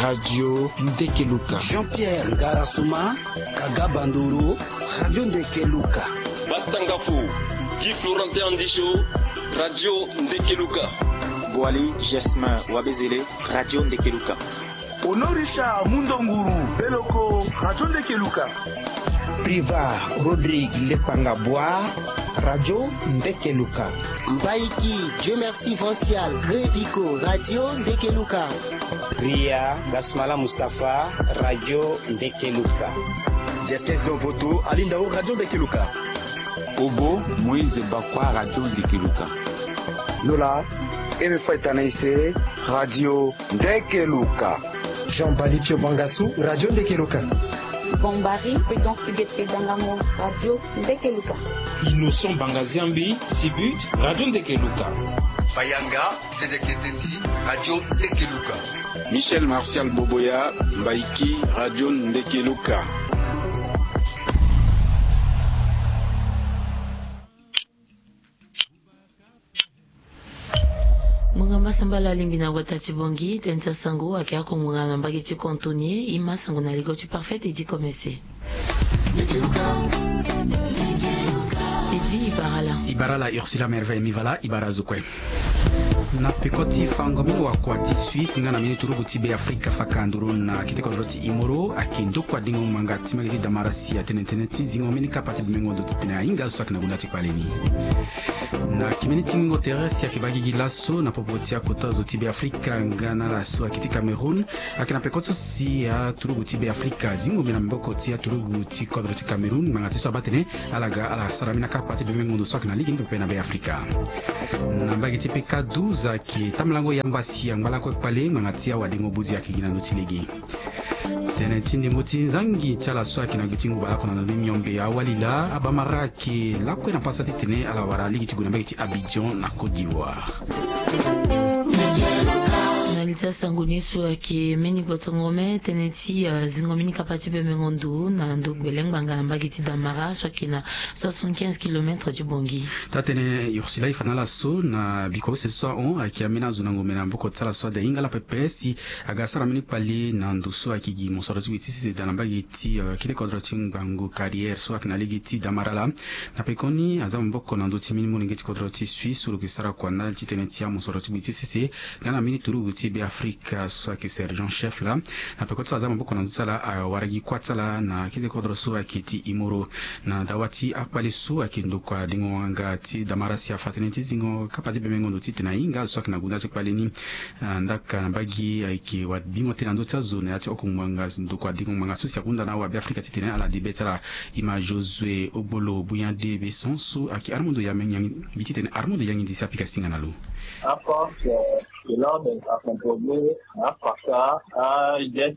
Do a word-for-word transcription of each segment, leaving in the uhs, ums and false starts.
Radio Ndekeluka. Jean-Pierre Ngarasuma, Kaga Bandoro, Radio Ndekeluka. Batangafo, Guy Florentin Andisho, Radio Ndekeluka. Boali Jasmin Wabezele, Radio Ndekeluka. Honorisha Mundonguru Beloko, Radio Ndekeluka. Priva Rodrigue Lepanga Boa, Radio Ndekeluka. Mbaiki Dieu Merci Vancial Grevico, Radio Ndekeluka. Ria Gasmala Mustapha, Radio Ndekeluka. Jeskes Dovoto Alindao, Radio Ndekeluka. Obo Moïse Bakwa, Radio Ndekeluka. Lola Eme Faitanaise, Radio Ndekeluka. Jean Balipio Bangasu, Radio Ndekeluka. Bombari Prudence Gete Dangamo, Radio Ndekeluka. Innocent Bangaziambi Sibut, Radio Ndekeluka. Bayanga Tedeketeti, Radio Ndekeluka. Michel Martial Boboya Mbaiki, Radio Ndekeluka. Munga masambala alingbi na wata ti bongi tënë ti asango ayeke oko ngbonga na mbage ti Contonie. E ma sango na ligo ti Parfait Edi Komese. Edi, e bara ala. E bara ala Ursula Merveille Mivala, e bara azo kue. Na peko ti fango mbeni wakua ti Suisse nga na mbeni turugu ti Beafrika faka nduru na kete kodro ti Imoro ayeke ndokua dengo ngbanga ti mbage ti Damarasi atene tënë ti zingo mbeni kapa ti bemengo ndo titene ahinga azo so ayeke na gunda ti kpale ni. Na kimeni ti ngingo tere si ayeke baa gigi laso na popo ti akota zo ti Beafrika nga na ala so ayeke ti Cameroun. Ayeke na peko so si aturugu ti Beafrika azingo mbi na maboko ti aturugu ti kodro ti Cameroun ngbanga ti so abaa tene ala ga ala sara mbeni akapa ti bemengo ndo so ayeke na lege ni pepe na Beafrika. Na mbage ti peka douze ayeke tambulango yamba si angba lakue kpale ngbanga ti awadengo buzi ayeke gi na ndö ti lege. Tënë ti ndembo ti nzangi ti ala so ayeke na gbe ti ngu baleoko na ndo ni miombe awali laa abamara ayeke lakue na pasa titene ala wara lege ti gue na mbage ti Abidjan na Côte d'Ivoire. Na li ti asango ni so ayeke mbeni gbotongo me tënë ti, ah, zingo mbeni kapa ti bemengo ndo na ndo gbele ngbanga na mbage ti Damara so ayeke na soixante-quinze kilomètres ti Bongi. Taa-tënë Ursula e fa na ala so na biko use so ahon ayeke ambeni azo na ngombe na maboko ti ala so ade ahinga ala pepe si aga asara mbeni kpale na ndo so ayeke gi mosoro ti gbe ti sese daa na mbage ti, eh, kete kodro ti ngbangbo carrière so ayeke na lege ti Damara laa. Na pekoni aza maboko na ndö ti mbeni molenge ti kodro ti Suisse so lo yeke sara kua ndali ti tënë ti amosoro ti gbe ti sese nga na mbeni turugu ti Beafrika so ayeke sergent chef laa. Na peko ti so aza maboko na ndö ti ala awara gi kuâ ti ala na kete kodro so ayeke ti Imoro. Na dawa ti akpale so ayeke ndokua dengo nganga ti Damara si afa tënë ti zingo kapa ti bemengo ndo titene ahinga azo so ayeke na gunda ti kpale ni. Ah, ndaka na mbage ayeke wabingo tënë na ndö ti azo na ya ti oko ngbanga ndokua dengo ngbanga so si ahunda na awabeafrika titene ala de be ti ala. E ma Josué Ogbolo Buyande Besson so ayeke armundo ya mbi titene armundo yangi ndi si apika singa na lo. Aforce, euh, de l'ordre a composé, afaka, ajet,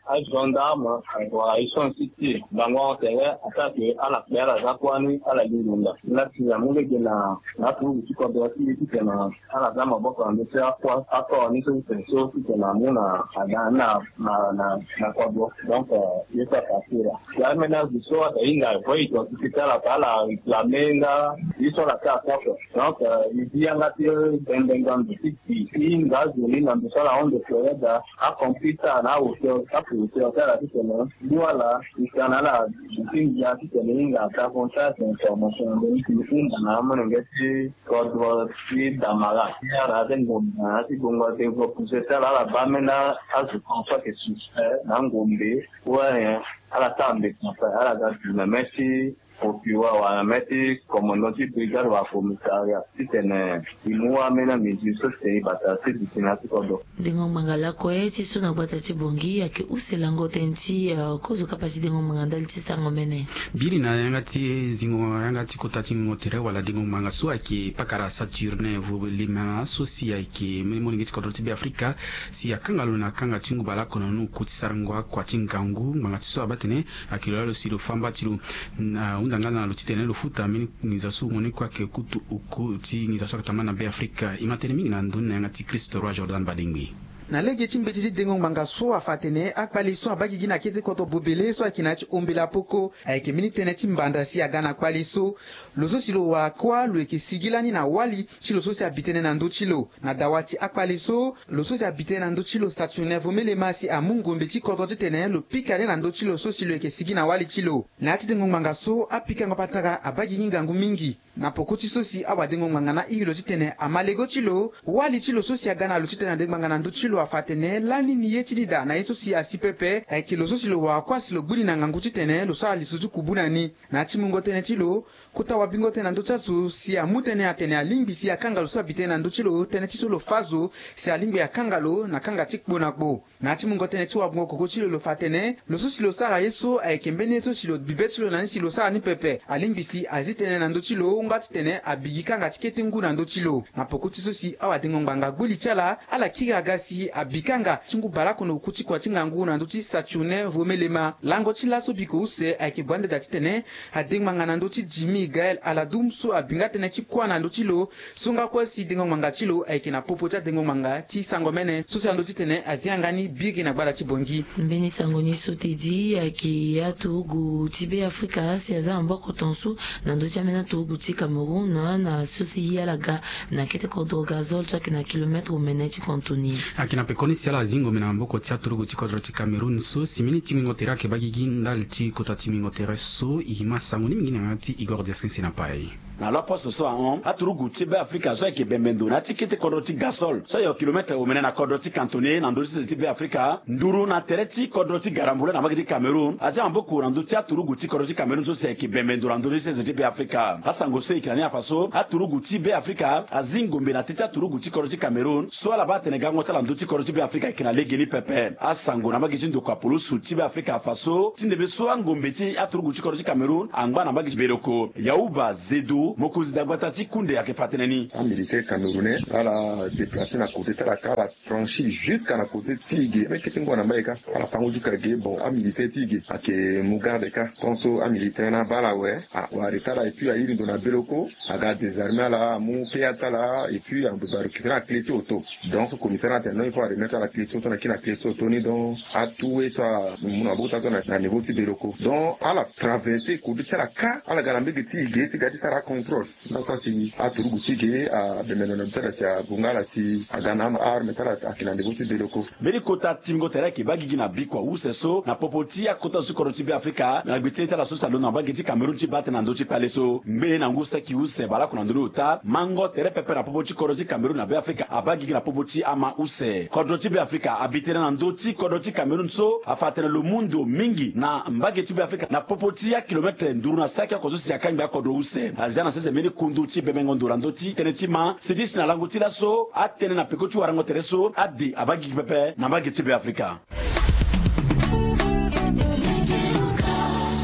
agendarme, awa ison siti bango tere attaque ala kpe ala za kuâ ni ala li ngonda. Lasi amu lege na na aturugu ti kodro ti e titene ala za maboko na ndö ti akua akua ni so titene so titene amu na aga na na na na kodro. Donc, euh, ye so apassé la. Ya mena zo so ata hinga avoid identité ti ala pa ala réclamer nga ye so ala sara kua kua. Donc, euh, e zi yanga ti bembenga ndo ti ti ti hinga azo ni na ndo so ala hon de floreda acomplice ti ala na ahauteur ape hauteur ti ala titene ngu ala e ka na ala ti ndia titene e hinga davantage d'information na ndö ni ti hunda na amolenge ti kodro ti Damara ti ala ti ngonda na ya ti gbongo atengo pousse ti ala ala baa mena azo so ayeke suspect na angombe ou rien ala sara mbeti na fa ala ga du na mê ti procureur wala na mê ti commandant ti brigade wala commissariat titene e mu ameni amesure so titene e bata ti duti na ya ti kodro. Dengo ngbanga lakue ti so na gbata ti Bongi ayeke use lango tënë ti, eh, kozo kapa ti dengo ngbanga ndali ti sango mene. Biri na yanga ti zingo yanga ti kota ti ngingo tere wala dengo ngbanga so ayeke pakara Saturnin Volema so si ayeke mbeni molenge ti kodro ti Beafrika si akanga lo na kanga ti ngu baleoko na ni oko ti sarango akua ti ngangu ngbanga ti so abaa tene ayeke lo laa lo si lo fâ mba ti lo. Na hunda nga na lo titene lo futa mbeni nginza so wungo ni kue ayeke kutu oko ti nginza so ayeke tambula na Beafrika. E ma tënë mingi na ndö ni na yanga ti Christ Roi Jordan Badengbe. Na lege ti mbeti ti dengo ngbanga so afa atene akpale so abaa gigi na kete kodro bobele so ayeke na ya ti ombela poko ayeke mbeni tënë ti mbanda si aga na kpale so. Lo so si lo wara kuâ lo yeke sigi lani na wali ti lo so si abi tënë na ndö ti lo. Na dawa ti akpale so, lo so si abi tënë na ndö ti lo Saturnin Vomelema si amu ngombe ti kodro titene lo pika ni na ndö ti lo so si lo yeke sigi na wali ti lo. Na ya ti dengo ngbanga so apikango patara abaa gigi ngangu mingi. Na poko ti so si awadengo ngbanga na iri lo titene ama lego ti lo, wali ti lo so si aga na lo titene adengo ngbanga na ndö ti lo afa atene lani ni ye ti ni daa na ye so si asi pepe ayeke lo so si lo wara kuâ si lo gbu ni na ngangu titene lo sara lisu ti kubu na ni. Na ya ti mungo tënë ti lo, kota wabingo tënë na ndö ti azo si amu tënë atene alingbi si akanga lo so abi tënë na ndö ti lo tënë ti so lo fâ zo si alingbi akanga lo na kanga ti kpo na kpo. Na ya ti mungo tënë ti wabungo koko ti lo lo fa atene lo so si lo sara ye so ayeke mbeni ye so si lo bi be ti lo na ni si lo sara ni pepe alingbi si azi tënë na ndö ti lo nga titene abi gi kanga ti kete ngu na ndö ti lo. Na poko ti so si awadengo ngbanga gbu li ti ala, ala kiri aga si abi kanga ti ngu baleoko na oku ti kua ti ngangu na ndö ti Saturnin Vomelema. Lango ti laso biko use ayeke bua nda daa titene adengo ngbanga na ndö ti Jimmy Gaël Aladum so abi nga tënë ti kuâ na ndö ti lo. So nga kue si dengo ngbanga ti lo ayeke na popo ti adengo ngbanga ti sango mene so si ando titene azi yanga ni biri na gbada ti Bangui. Mbeni sango ni so tedi ayeke aturugu ti Beafrika si aza maboko tongaso na ndö ti ambeni aturugu ti Cameroun na so si ala ga na kete kodro Gazole so ayeke na kilomètre omene ti Cantoni. Ayeke na pekoni si ala zingo mbi na maboko ti aturugu ti kodro ti Cameroun so si mbeni tingbingo tere ayeke baa gigi ndali ti kota tingbingo tere so e ma sango ni mingi na yanga ti Igor Diaskin si na pai. Na lo aposte so ahon aturugu ti Beafrika so ayeke bembe ndo na ya ti kete kodro ti Gasol so ayeke kilomètre omene na kodro ti Cantoni na ndö ti sese ti Beafrika nduru na tere ti kodro ti Garambula na mbage ti Cameroun azi maboko na ndö ti aturugu ti kodro ti Cameroun so si ayeke bembe ndo na ndö ti sese ti Beafrika. Asango so e yeke na ni afa so aturugu ti Beafrika azi ngombe na tere ti aturugu ti kodro ti Cameroun so ala baa atene gango ti ala na ndö ti kodro ti Beafrika ayeke na legeni pepe. Asango na mbage ti ndokua poloso ti Beafrika afa so ti ndembe so angombe ti aturugu ti kodro ti Cameroun angba na mbage ti Beloko. Yauba Zedo, mokonzi dagbata ti kunde ayeke fa tënë ni. Amilitaire camerounais ala déplacer na côté ti ala kâ, ala franchir jusqu'à na côté ti e ge. Meke ti ngu na mbage kâ ala fa ngu ti ka ge. Bon, amilitaire ti e ge ayeke mu garde kâ. Tant so amilitaire ni abaa ala awe, awara kâ ala et puis airi ndo na Beloko, aga désarmer ala, amu P A ti ala et puis ando ba récupérer aclé ti auto. Donc so commissaire ni atene non, il faut aremettre ala clé ti auto, na kiri na clé ti auto ni. Donc atu ye so amu na maboko ti ala so na niveau ti Beloko. Donc ala traverser côté ti ala kâ, ala ga na mbage ti e ge ti ga ti sara acontrôle. Nda so asi aturugu ti e ge abembe ndo na ndo ti ala si ague nga ala si aga na aarme ti ala ayeke na niveau ti Beloko. Mbeni kota tingbingo tere ayeke baa gigi na bikua use so na popo ti akota zo ti kodro ti Beafrika, me na gbe ti le ti ala so si alondo na mbage ti Cameroun ti baa tënë na ndö ti kpale so. Ngbe na ngu saki use baleoko na ndoni ota, mango tere pepe na popo ti kodro ti Cameroun na Beafrika abaa gigi na popo ti ama use. Kodro ti Beafrika abi tënë na ndö ti kodro ti Cameroun so afa atene lo mu ndo mingi na mbage ti Beafrika na popo ti akilomètre nduru na saki oko so si akangbi akodro use. Azia na sese mbeni kundu ti bemengo ndo na ndö ti tënë ti ma si ti si na lango ti laso atënë na peko ti warango tere so ade abaa gigi pepe na mbage ti Beafrika.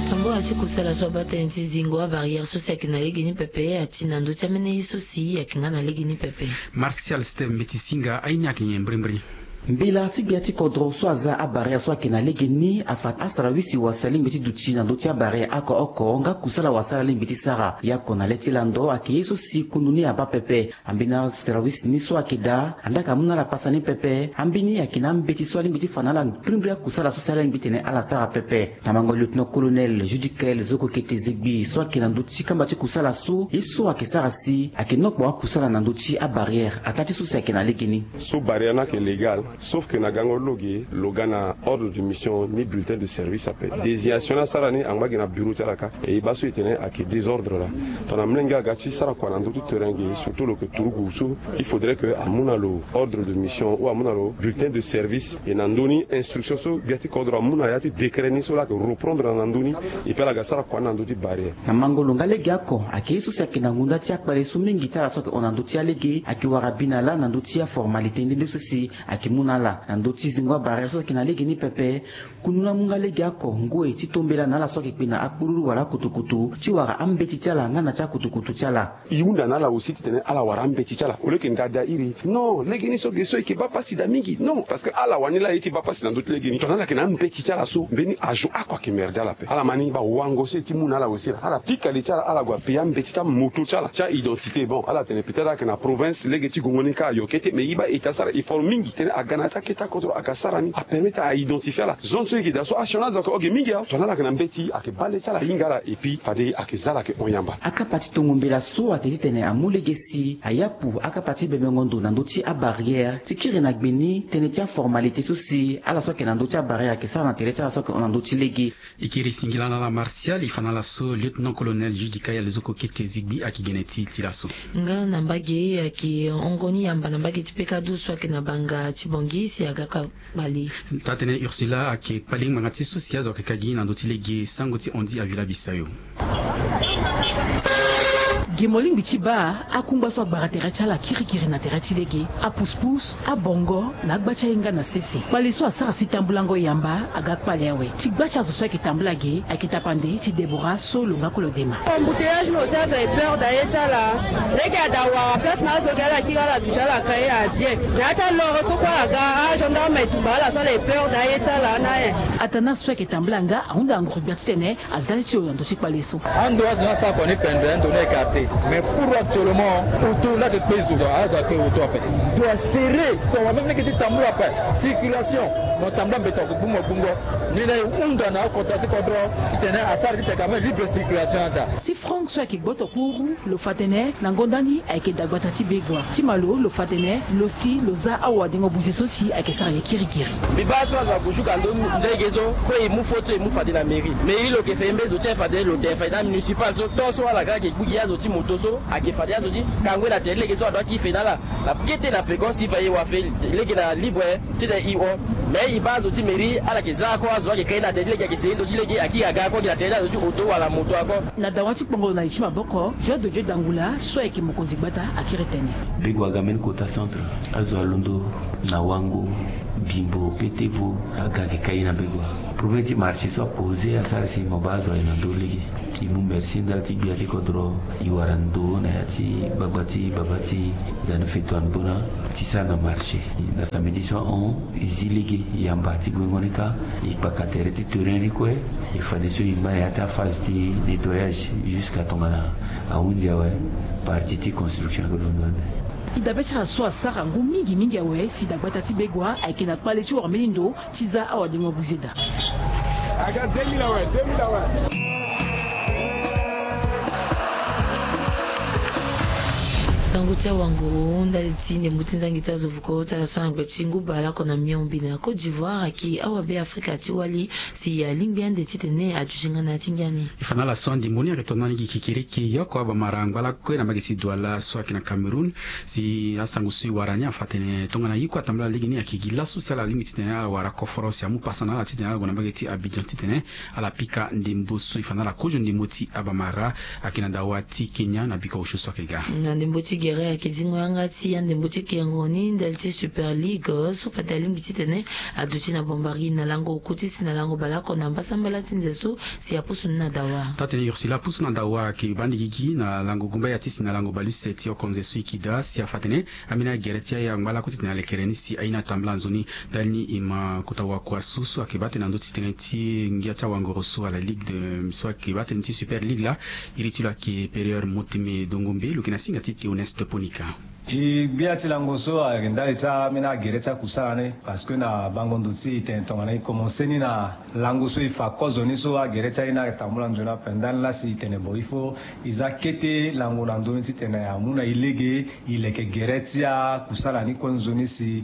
Tambula ti kusala so abaa tënë ti zingo abarrière so si ayeke na legeni pepe ati na ndö ti ambeni ye so si ayeke nga na legeni pepe. Martial Steve Mbeti Singa, aye ni ayeke nyen mbirimbiri? Mbela ti gbia ti kodro so aza abarrière so ayeke na legeni afa asarawisi wase alingbi ti duti na ndö ti abarrière oko oko nga kusala wase ala alingbi ti sara. Ye oko na le ti lando ayeke ye so si kundu ni abaa pepe. Ambeni asarawisi ni so ayeke daa anda ayeke amu na ala pasa ni pepe. Ambeni ayeke na ambeti so alingbi ti fa na ala mbirimbiri akusala so si ala lingbi tene ala sara pepe. Na mango lieutenant colonel Judikel Zokokete Zegbi so ayeke na ndö ti kamba ti kusala so ye so ayeke sara si ayeke nokpo akusala na ndö ti abarrière ataa ti so si ayeke na legeni. So barrière ni ayeke légal, sauf que na gango ti lo ge lo ga na ordre de mission ni bulletin de service ape. Désignation ni asara ni angba gi na bureau ti ala kâ. E baa so e tene ayeke désordre laa. Tongana molenge aga ti sara kua na ndö ti terrain ge, surtout lo yeke turugu so, il faudrait que amu na lo ordre de mission ou amu na lo bulletin de service. E na ndö ni instruction so gbia ti kodro amu na ya ti décret ni so laa ayeke reprendre na ndö ni. Et puis ala ga sara kua ni na ndö ti barrière. Na mango lo nga lege oko ayeke ye so si ayeke na ngonda ti akpale so mingi ti ala so ayeke hon na ndö ti alege ayeke wara bi na lâ na ndö ti aformalité nde nde so si ayeke mu na ala na ndö ti zingo abarrière so ayeke na legeni pepe. Kundu ni amu nga lege oko ngoi ti tombela na ala so ayeke kpe na akpururu wala akutukutu ti wara ambeti ti ala nga na ti akutukutu ti ala. E hunda na ala aussi titene ala wara ambeti ti ala au lieu que ngada iri. Non, legeni so ge so e yeke baa pasi daa mingi. Non, parce que ala wani laa ye ti baa pasi na ndö ti legeni. Tongana ala yeke na ambeti ti ala so mbeni azo oko ayeke merde ala ape. Ala ma ni baa wango so e ti mu na ala aussi laa ala pika li ti ala, ala gue apayer ambeti ti amoto ti ala ti a-identité. Bon, ala tene peut-être ala yeke na province, lege ti gongo ni kâ ayo kete, mais e baa e ta sara effort mingi titene aga Na ya ti akete akodro ayeke sara ni apermettre a identifier ala. Zone so e yeke daa so asioni azo ayeke hon ge mingi awe. Tongana ala yeke na mbeti ayeke baa le ti ala ahinga ala. Et puis fade ayeke za ala ayeke hon yamba. Akapa ti tongo mbela so ayeke titene amu lege si ayapu akapa ti bebengo ndo na ndö ti abarrière ti kiri na gbe ni tënë ti aformalité so si ala so ayeke na ndö ti abarrière ayeke sara na tere ti ala so ayeke hon na ndö ti lege. E kiri singila na ala Martial e fa na ala so lieutenant colonel Jude Kayel zo kokete zigbi ayeke gene ti ti laso. Nga na mbage ayeke hongo ni yamba na mbage ti pekadu so ayeke na banga ti bongi si aga kpale. Taa-tënë Ursula ayeke kpale ngbanga ti so si azo ayeke ka gi na ndö ti lege sango ti hondi avila bisayo. Ge molingbi ti baa akungba so agbara tere ti ala kirikiri na tere ti lege, apuspusu, abongo na agba ti ahinga na sese. Kpale so asara si tambulango yamba aga kpale awe. Ti gba ti azo so ayeke tambula ge ayeke tapande ti Deborah so lo nga kue lo dema. Embouteillage ni aussi azo aye peur daa ye ti ala. Lege ada wara place na azo ge ala kiri ala duti ala ka ye abien. Na ya ti aloro so kue ala ga agendarme aye tumba ala so ala ye peur daa ye ti ala na ayen. Atana so ayeke tambula nga ahunda nguru gbia titene aza le ti lo na ndö ti kpale so. Ando azo ni asara kua ni pembe, ando ni écarté. Mais pour actuellement auto laa ayeke kpe zo, azo akpe auto ape. Doit serrer. So wa même ni yeke ti tambula ape. Circulation, mo tambula mbeto ague gbungo gbungo. Ni laa e hunda na akota ti kodro titene asara titene ka même libre circulation ada. Ti Franck so ayeke gboto kuru lo fa tene na ngonda ni ayeke dagbata ti Begua. Ti Malo lo fa tene lo si lo za awadengo buze so si ayeke sara ye kirikiri. Mbi baa so azo ague jusqu'à ndo lege so kue e mu foto e mu fade na mairie. Mairie lo yeke fe mbeni zo ti aye fade lo tene fade na municipal so to so ala ga ayeke gbu gi azo ti moto so ayeke fade azo ti kangbe na tere ti lege so ado akiri fe na ala. Na kete na peko si fa e wa fe lege na libre titene e hon. Mais e baa azo ti mairie ala yeke za oko azo ayeke kai na tere ti lege ayeke seni ndo ti lege akiri aga oko gi na tere ti azo ti auto wala moto oko. Na dawa ti kpongolo na li ti maboko, Joie de Dieu Dangula so ayeke mokonzi gbata akiri tene. Begua aga mbeni kota centre, azo alondo na Wango, Bimbo, Petevo, aga ayeke kai na Begua. Problème ti marché so apose asara si mo baa azo aye na ndö lege. E mu merci ndali ti gbia ti kodro. E wara ndo na ya ti gbagba ti baba ti Zanu Feto Anbona ti sara na marché. Na samedi so ahon e zi lege yamba ti gbengo ni kâ. E kpaka tere ti terrain ni kue. E fadeso e ngba na ya ti aphase ti nettoyage jusqu'à tongana ahunzi awe. Partie ti construction ayeke londo ande. E dabe ti ala so asara ngu mingi mingi awe si dagbata ti Begua ayeke na kpale ti wara mbeni ndo ti za awadengo buze daa. Aga deux mille awe, deux mille awe. Sango ti awanguru ndali ti ndembo ti nzangi ti azo vuko ti ala so na ngbe ti ngu bale oko na miombe na Côte d'Ivoire ayeke awabe Afrika ti wali si alingbi ande titene aduti nga na ya ti ngia ni. E fa na ala so andembo ni ayeke tongana ni gi kekereke yoko abamara angba lakue na mbage ti Douala so ayeke na Cameroun. Si asango so e wara ni afa tene tongana ye kue atambula lege ni ayeke gi laso si ala lingbi titene ala wara koforo si amu pasa na ala titene ala gue na mbage ti Abidjan titene ala pika ndembo so e fa na ala kozo ndembo ti abamara ayeke na dawa ti Kenya na biko osio so ayeke ga. Na ndembo ti gere ayeke zingo yanga ti andembo ti kengo ni ndali ti Super League so fade alingbi titene aduti na bombari na lango oku ti si na lango baleoko na mbasambala ti nze so si apusu ni na dawa. Taa-tënë Ursula apusu na dawa ayeke baa nde gigi na lango gumba ya ti si na lango baleuse ti oko nze so e yeke daa si afa tene ambeni agere ti aye angba lakue titene alekere ni si aye ni atambula nzoni. Ndali ni e ma kota wakua so so ayeke baa tene na ndö ti tënë ti ngia ti awangoro so ala ligue de so ayeke baa tene ti Super League laa. Iri ti lo ayeke Périeur Moteme Dongombe lo yeke na singa ti Théoneste Ponika. E gbia ti lango so ayeke ndali ti ambeni agere ti akusala ni parce que na bango ndo ti e tene tongana e komanse ni na lango so e fa kozo ni so agere ti aye ni ayeke tambula nzoni ape ndani laa si e tene bon il faut e za kete lango na ndö ni titene amu na e lege e leke gere ti akusala ni kue nzoni si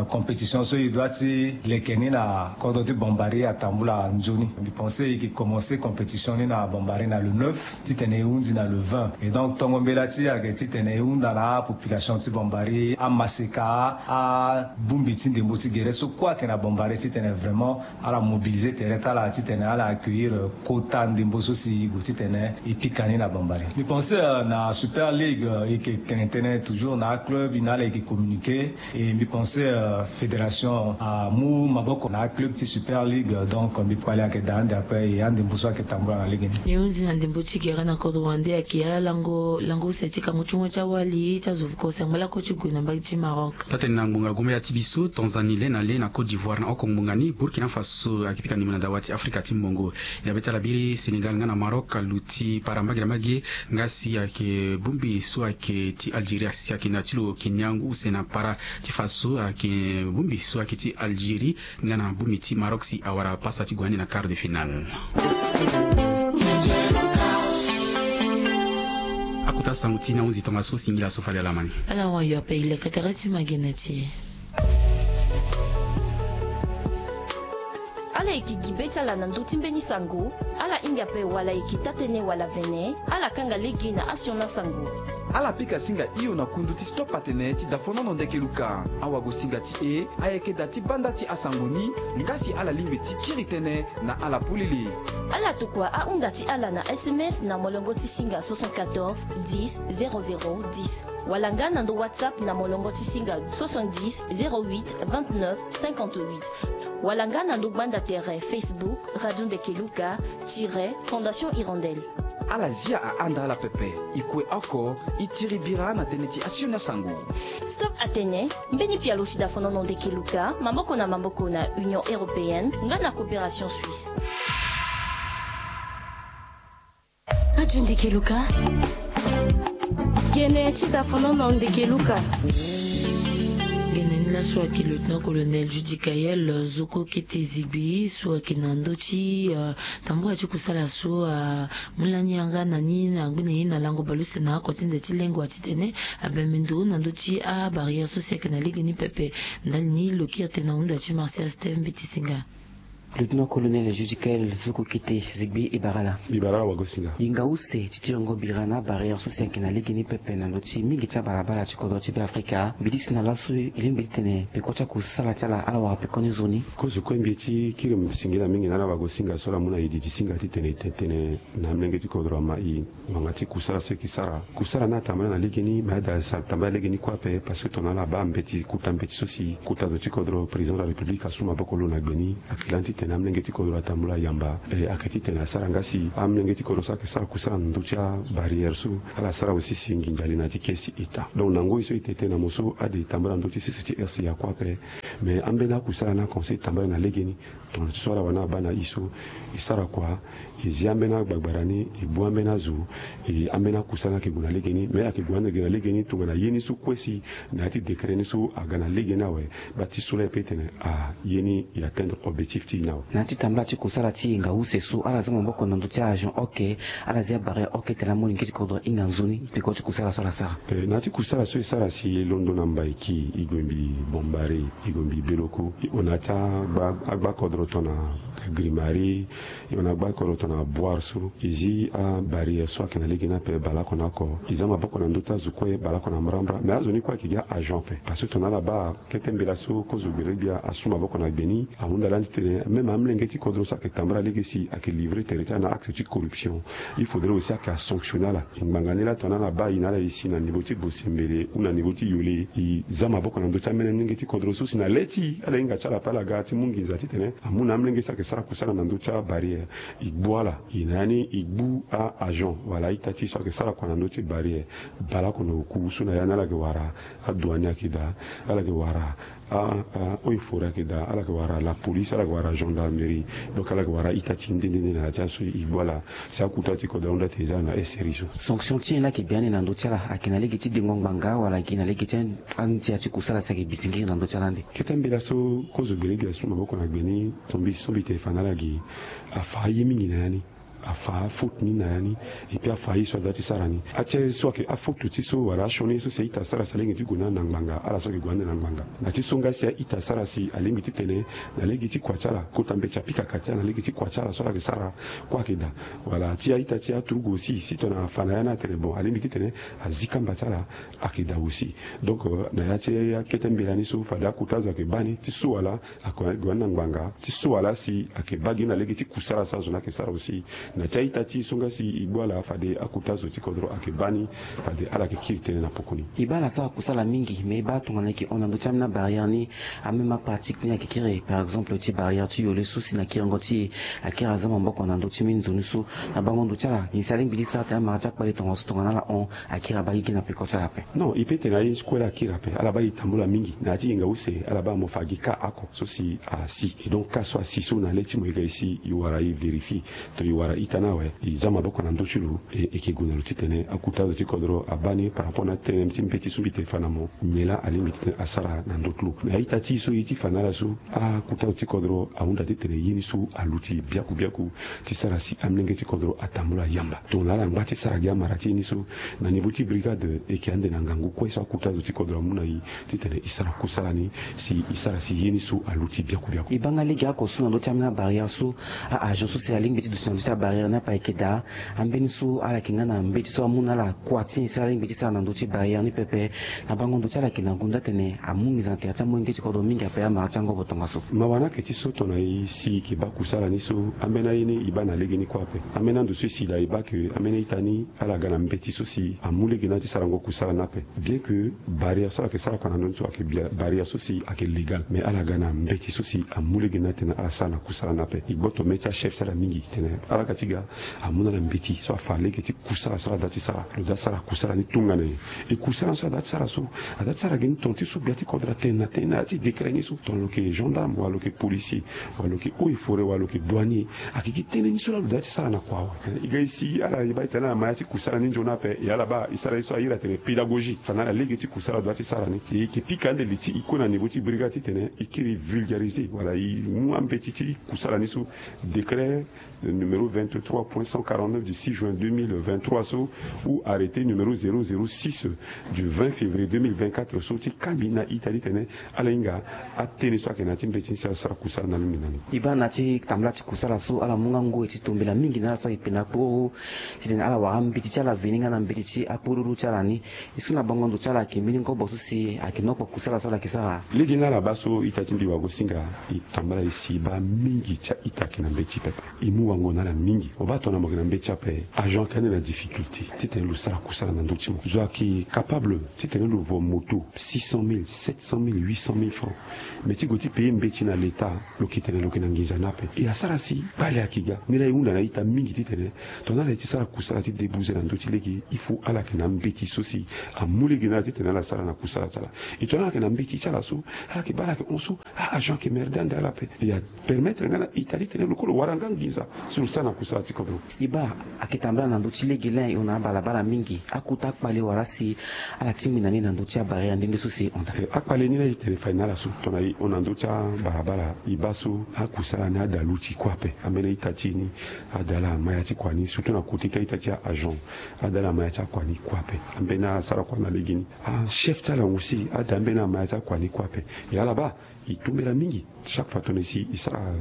compétition so e doit ti leke ni na kodro ti Bombari atambula nzoni. Mbi pense e yeke commence compétition ni na Bombari na le neuf titene e hunzi na le vingt. Et donc tongo mbela ti e ayeke titene e hunda na apopulation ti Bombari, amaseka, abongbi ti ndembo ti gere so kue ayeke na Bombari titene vraiment ala mobiliser tere ti ala titene ala accueillir kota ndembo so si e gue titene e pika ni na Bombari. Mbi pense na Super League e yeke tene tënë toujours na aclub ni na ala e yeke communiquer. Et mbi pense fédération amu maboko na aclub ti Super League, donc mbi kpali ayeke daa ande ape e andembo so ayeke tambula na lege ni. E hunzi na ndembo ti gere na kodro wande ayeke alango lango use ti kango ti ngoi ti awa. Bali ti azo vuko sengbe lako ti gue na mbage ti Maroc. Taa-tene na ngbonga gombe ya ti biso, Tanzanie le na le na Côte d'Ivoire na oko ngbonga ni, Burkina Faso ayeke pika ndembo na dawa ti Afrika ti mbongo. Dabe ti ala biri Sénégal nga na Maroc aluti para mbage na mbage. Nga si ayeke bongbi so ayeke ti Algérie asi ayeke na ti lo Kenya ngu use na para ti Faso ayeke bongbi so ayeke ti Algérie. Nga na bongbi ti Maroc si awara pasa ti gue ande na quart de finale. Akota sango ti na hunzi tongaso singila so fade ala ma ni. Ala hon ayo ape e leke tere ti ma gene ti e. Ala yeke gi be ti ala na ndö ti mbeni sango. Ala hinga ape wala yeke taa-tënë wala vene. Ala kanga lege na asioni asango. Ala pika singa hio na kundu ti Stop Atene ti dafonono Ndeke Luka. Awagosinga ti e ayeke da ti banda ti asango ni. Nga si ala lingbi ti kiri tënë na ala polele. Ala tokua ahunda ti ala na S M S na molongo ti singa soixante-quatorze dix zéro zéro dix, wala nga na ndo WhatsApp na molongo ti singa soixante-dix zéro huit vingt-neuf cinquante-huit, wala nga na ndo gbanda tere Facebook Radio Ndeke Luka tiret Fondation Hirondelle. Ala zia ahanda ala pepe. E kue oko, e tiri bira na tënë ti asioni asango. Stop Atene, mbeni pialo ti dafonono Ndeke Luka, maboko na maboko na Union Européenne nga na Coopération Suisse. Radio Ndeke Luka. Gene ti dafonono Ndeke Luka. Gene ni laso ayeke lieutenant colonel Judy Kayel, zoko kete zigbi so ayeke na ndö ti, euh, tambula ti kusala so, euh, amu lani yanga na ni na gbe na ye na lango bale use na oko ti nze ti lengo titene abembe ndo na ndö ti abarrière so si ayeke na legeni pepe. Ndali ni lo kiri tene na hunda ti Martial Steve Mbeti Singa. Lieutenant colonel Judy Kayel, zoko kete zigbi, e bara ala. E bara ala wagosinga. E nga use ti tiringo bira na abarrière so si ayeke na legeni pepe na ndö ti mingi ti abalabala ti kodro ti Beafrika. Mbi disi na laso e lingbi titene peko ti akusala ti ala ala wara peko ni zo ni. Kozo kue mbi ye ti kiri singila mingi na ala wagosinga so ala mu na e didi singa titene e tene na amolenge ti kodro ama e ngbanga ti kusala so e yeke sara. Kusala ni atambula na legeni, me aye daa sara tambula legeni kue ape, parce que tongana ala baa mbeti, kota mbeti so si kota zo ti kodro, président de la République asu maboko lo na gbe ni. Ayeke lani titene amolenge ti kodro atambula yamba. E, ayeke titene asara nga si amolenge ti kodro so ayeke sara kusala na ndö ti abarrière so, ala sara aussi si nginza ali na ya ti kesi e taa. Donc na ngoi so e tene tënë na mo so, ade e tambula na ndö ti sese ti R C A kue ape. Me ambeni akusala ni akomense e tambula na legeni. Tongana ti so ala wani abaa na e so, e sara kua, e zi ambeni agbagbara ni, e bu ambeni azo, e ambeni akusala ni ayeke gue na legeni. Me ayeke gue ande ge na legeni tongana ye ni so kue si na ya ti décret ni so aga na legeni awe. Baa ti so laa e pe tene, ah, ye ni e atteindre objectif ti e ni awe. Na ya ti tambula ti kusala ti e nga use so, ala za maboko na ndö ti a-agent oke, ala zi abarrière oke tene amolenge ti kodro ahinga nzoni peko ti kusala so ala sara. Eh, na ya ti kusala so e sara si e londo na Mbaiki, e gue mbi Bombari, e gue mbi Beloko, e hon na ya ti agba, agba kodro tongana Grimari, e hon na agba kodro tongana Boire so, e zi abarrière so ayeke na lege ni ape baleoko na oko. E za maboko na ndö ti azo kue baleoko na mbrambra. Me azo ni kue ayeke gi a-agent ape. Parce que tongana ala baa kete mbela so kozo gbelegbia asu maboko na gbe ni, ahunda lani titene même amolenge ti kodro so ayeke tambula lege si ayeke livrer tere ti ala na acte ti corruption, il faudrait aussi ayeke asanctionner ala. E ngbanga ni laa tongana ala baa e na ala e si na niveau ti Bosembele ou na niveau ti Yole, e za maboko na ndö ti amolenge ti kodro so si na le ti e ala hinga ti ala ape ala ga ti mu nginza titene amu na amolenge so ayeke sara kusala na ndö ti abarrière, e gbu ala. E na ya ni e gbu a-agent wala a-ita ti e so ayeke sara kua na ndö ti barrière. Baleoko na oku so na ya ni ala yeke wara adouane ayeke daa, ala yeke wara a, a, eaux et forêts ayeke daa, ala yeke wara la police, ala yeke wara gendarmerie. Donc ala yeke wara a-ita ti e nde nde nde na ya ti aso e gbu ala. Si akota ti kodro ahunda tene e za ala na S R I so. Sanction ti nyen la ayeke bi ande na ndö ti ala? Ayeke na lege ti dengo ngbanga wala ayeke na lege ti andia ti kusala si ayeke bi singiri na ndö ti ala ande? Kete mbela so kozo gbelegbia asu maboko na gbe ni, tongana mbi so mbi tene fa na ala gi, afa aye mingi na ya ni. Afa afaute ni na ya ni. Et puis afa aye so ada ti sara ni. Atie so ayeke afaute ti so wala asioni ye so si a-ita asara si alingbi ti gue na ala na ngbanga, ala so ayeke gue ande na ngbanga. Na ti so nga si a-ita asara si alingbi titene na lege ti kua ti ala, kota mbeti apika ka ti ala na lege ti kua ti ala so ala yeke sara kue ayeke daa. Wala ti a-ita ti aturugu aussi, si tongana afa na ya ni atene bon, alingbi titene azi kamba ti ala, ayeke daa aussi. Donc, euh, na ya ti akete mbela ni so fade akota zo ayeke baa ni ti so wala, ayeke gue ande na ngbanga ti so wala si ayeke baa gi ni na lege ti kusala so azo ni ayeke sara aussi. Na ti a-ita ti so nga si e gbu ala fade akuta zo ti kodro ayeke baa ni, fade ala yeke kiri tënë na poko ni. E baa ala sara kusala mingi, me e baa tongana e yeke hon na ndö ti ambeni abarrière ni, ameme apratique ni ayeke kiri, par exemple ti barrière ti yole so si na kiringo ti e akiri aza maboko na ndö ti mbeni nzoni so. Na bango ndo ti ala nyen si alingbi ti sara tene amara ti akpale tongaso tongana ala hon akiri abaa gigi na peko ti ala ape? Non, e peut tene aye ni ti kue laa akiri ape. Ala baa e tambula mingi na ya ti yenga use, ala baa mo fa gi cas oko so si asi. E donc cas so asi so na le ti mo e ga e si e wara e vérifier. To e wara ita ni awe, e za maboko na ndö ti lo, e, e yeke gue na lo titene akuta zo ti kodro abaa ni par rapport na tënë ti mbeti so mbi tene fa na mo, nyen laa alingbi titene asara na ndö ti lo. Me a-ita ti e so e ye ti fa na ala so, akuta zo ti kodro ahunda titene ye ni so aluti biaku biaku ti sara si amolenge ti kodro atambula yamba. Tongana ala ngba ti sara gi amara ti ye ni so, na niveau ti brigade e yeke ande na ngangu kue so akuta zo ti kodro amu na e titene e sara kusala ni, si e sara si ye ni so aluti biaku biaku. E baa nga lege oko so na ndö ti ambeni abarrière so, a-agent so si alingbi ti duti na ndö ti abarrière ni ape ayeke daa. Ambeni so ala yeke nga na mbeti so amu na ala kua ti nyen si alingbi ti sara na ndö ti barrière ni pepe. Na bango ndo ti ala yeke na gonda tene amu nginza na tere ti amolenge ti kodro mingi ape amara ti angobo tongaso. Mawa ni ayeke ti so tongana e si e yeke baa kusala ni so, ambeni aye ni e baa na legeni kue ape. Ambeni ando so e si daa e baa ke ambeni a-ita ni ala ga na mbeti so si amu lege ni ti sarango kusala ni ape. Bien que barrière so ala yeke sara kua na ndö ni so ayeke bia-, barrière so si ayeke légal, mais ala ga na mbeti so si amu lege ni atene ala sara na kusala ni ape. E gboto mê ti achef ti ala mingi tene ala ga ti ga amu na ala mbeti so afa lege ti kusala so ala da ti sara. Lo da sara kusala ni tongana nyen? E kusala so ala da ti sara so, ala da ti sara gi ni ton ti so gbia ti kodro atene na tënë na ya ti décret ni so. Tongana lo yeke gendarme wala lo yeke policier, wala lo yeke eaux et forêts, wala lo yeke douanier, ayeke gi tënë ni so laa lo da ti sara na kua awe. E ga e si ala e baa e tene ala ma ya ti kusala ni nzoni ape, e ala baa e sara ye so a iri atene pédagogie fa na ala lege ti kusala lo da ti sara ni. E yeke pika ande li ti e kue na niveau ti brigade titene e kiri vulgariser wala e mu ambeti ti kusala ni so. Décret numéro vingt-trois point cent quarante-neuf du six juin deux mille vingt-trois so, ou arrêté numéro zéro zéro six du vingt février deux mille vingt-quatre so, ti kambi na ita ti tene ala hinga atënë so ayeke na ya ti mbeti ni si ala sara kusala na alingbi na ni. E baa na ya ti tambula ti kusala so ala mu nga ngoi ti tombela mingi na ala so ayeke pena akporuru, titene ala wara ambeti ti ala veni nga na mbeti ti akporuru ti ala ni. Est-ce que na bango ndo ti ala ayeke mbeni ngobo so si ayeke nokpo kusala so ala yeke sara? Lege ni ala baa so ita ti mbi wagosinga e tambula e si e baa mingi ti a-ita ayeke na mbeti pepe. E mu wango na ala mingi. Mo baa tongana mo yeke na mbeti ape, agent ayeke ande na difficulté titene lo sara kusala na ndö ti mo. Zo ayeke capable titene lo vo moto six cent mille, sept cent mille, huit cent mille francs. Mais ti gue ti payer mbeti na l'État, lo yeke tene lo yeke na nginza ni ape. E asara si kpale ayeke ga. Ni laa e hunda na ita mingi titene tongana ala ye ti sara kusala ti débouser na ndö ti lege, il faut ala yeke na mbeti so si amu lege na ala titene ala sara na kusala ti ala. E tongana ala yeke na mbeti ti ala so, ala yeke baa ala yeke hon so, a-agent ayeke merde ande ala ape. E apermettre nga na ita titene lo kue lo wara nga nginza so lo sara na kusala ti kodro. E baa ayeke tambula na ndö ti lege laa e hon na abalabala mingi. Akota akpale wala si ala tingbi na ni na ndö ti abarrière nde nde so si e hon daa? Eh, akpale ni laa e tene fade na ala so tongana e hon na ndö ti abalabala, e baa so akusala ni ada luti kue ape. Ambeni a-ita ti e ni ada ala ma ya ti kua ni, surtout na côté ti a-ita ti a-agent, ada ala ma ya ti akua ni kue ape. Ambeni asara kua na legeni, achef ti ala aussi ada ambeni ama ya ti akua ni kue ape. E ala baa e tombela mingi. Chaque fois tongana e si e sara,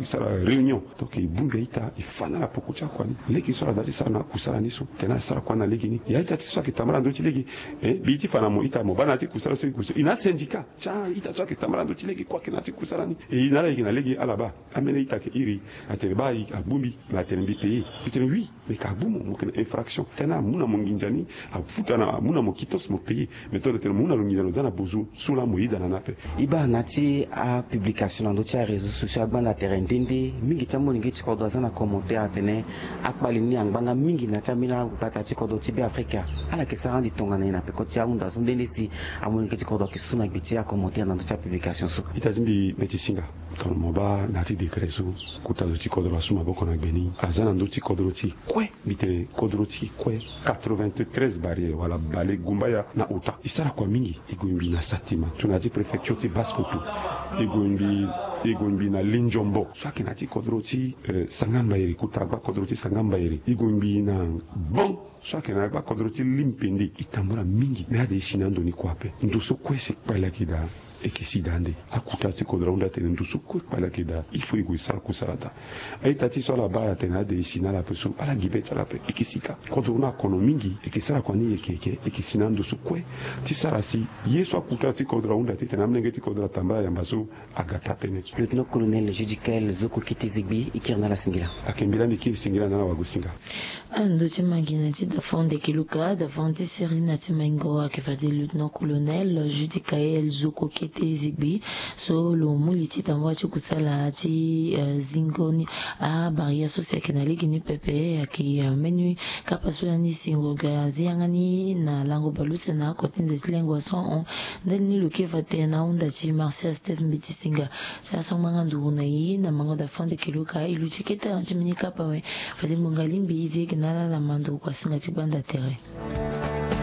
e sara réunion, donc e bongbi a-ita, e fa na ala poko ti akua ni. Lege so ala da ti sara na akusala ni so tene ala sara kua na legeni. E a-ita ti so ayeke tambula na ndö ti lege, eh, mbi ye ti fa na mo ita, mo baa na ya ti kusala so e gue so, e na asyndicat ti a-ita so ayeke tambula na ndö ti lege kue ayeke na ya ti kusala ni. E na ala yeke na lege ala baa. Ambeni a-ita ayeke iri, atene baa e, agbu mbi, mais atene mbi payer. Mbi tene oui, mais ka agbu mo, mo yeke na infraction. Tene amu na mo nginza ni, afuta na, amu na mo quittance, mo payer. Mais tongana tene mo mu na lo nginza, lo za na bozo so laa mo yeda na ni ape. E baa na ya ti apublication na ndö ti aréseau sociaux agbanda tere nde nde, mingi ti amolenge ti kodro aza na commentaire atene akpale ni angba nga mingi na ya ti ambeni agbata ti kodro ti Beafrika. Ala yeke sara ande tongana nyen na peko ti ahunda so nde nde si amolenge ti kodro ayeke su na gbe ti acommentaire na ndö ti apublication so? Ita ti mbi, mbi ti singa. Tongana mo baa na ya ti décret so, kota zo ti kodro asu maboko na gbe ni, aza na ndö ti kodro ti kue. Mbi tene kodro ti kue, quatre-vingt-treize barrières wala bale gumbaya na ota. E sara kua mingi. E gue mbi na Satima, tongana ti préfecture ti Basse-Kotto. E gue mbi, e gue mbi na Lindiombo so ayeke na ya ti kodro ti, eh, Sanga-Mbairi, kota agba kodro ti Sanga-Mbairi. E gue mbi na Bon so ayeke na agba kodro ti Limpende. E tambula mingi, me ade e si na ando ni kue ape. Ndo so kue si kpale ayeke daa, e yeke si daa ande. Akota ti kodro ahunda atene ndo so kue kpale ayeke daa, il faut e gue e sara kusala daa. A-ita ti e so ala baa atene ade e si na ala ape so, ala gi be ti ala ape. E yeke si kâ. Kodro ni akono mingi, e yeke sara kua ni yeke yeke, e yeke si na ando so kue ti sara si ye so akota ti kodro ahunda titene amolenge ti kodro atambula yamba so aga taa tënë. Lieutenant-colonel Judicaël Zoko Kete Zegbi, i kiri na ala singila. Ayeke mbela mbi kiri singila na ala wagosinga. Ando ti mangi na ti dafonde kiluka dafonde ti seri na ti maingo ayeke fade lieutenant-colonel Judicaël Zoko Kete Zegbi, so lo mu li ti tambula ti kusala ti zingo ni. Abarrière so si ayeke na lege ni pepe ayeke mbeni kapa so lani si ngonga azi yanga ni na lango baleuse na oko ti nze ti lengua so ahon. Ndali ni lo kiri fade na ahunda ti Martial Steph Mbeti Singa. Ti aso ngbanga nduru na e na mango dafonde kiluka e lu ti kete ti mbeni kapa awe. Fade ngonga lingbi e zi eke na ala na manduru kua singa ti gbanda tere.